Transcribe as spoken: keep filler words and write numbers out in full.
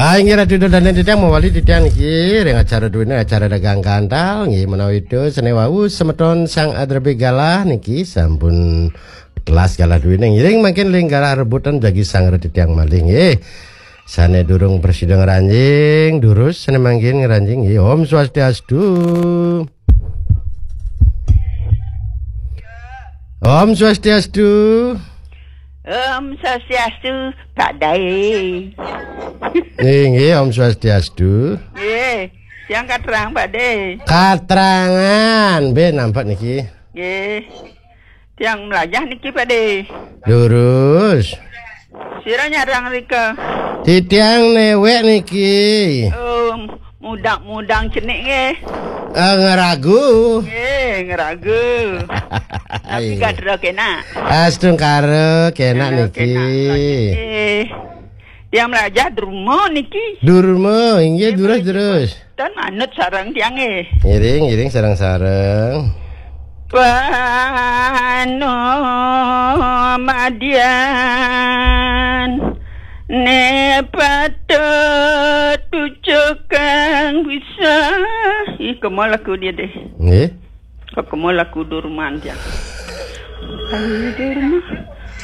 Ah, inggih Ratu Ida dané titiang mawali titiang niki ring acara duwene acara dagang gantal nggih menawi itu sene wau semeton sang adrepe galah niki sampun telas galah duwene ngiring mangkin ling galah rebutan jagi sang titiang malih nggih. Sane durung prasida ngranjing, durus sane mangkin ngranjing nggih. Om Swastiastu. Om Swastiastu. Om Swastiastu, Pak Dae. Nggih, nggih, Om Swastiastu. Nggih, tiang katerang, Pak Dae. Katrangan, be nampak niki. Nggih. Tiang melajah niki, Pak Dae. Lurus. Sira nyarang rika. Titiang newek niki. Om, mudang-mudang cenik nggih. Eh, ngeragu. Nggih, ngeragu. Tapi Iya. Gadra kena. Astungkara kena Kena, niki. Kena. Nggih. Tiang melajah derma niki. Durma, inggih Nggih, durus, nggih. Durus. Tan manut sareng tiang nggih. Ngiring, ngiring sareng-sareng. Panomadian ne patut tucukang bisa. Ih, kemo lagu dia deh. Nggih. Kok kemo lagu Durman dia. Ayo Durman.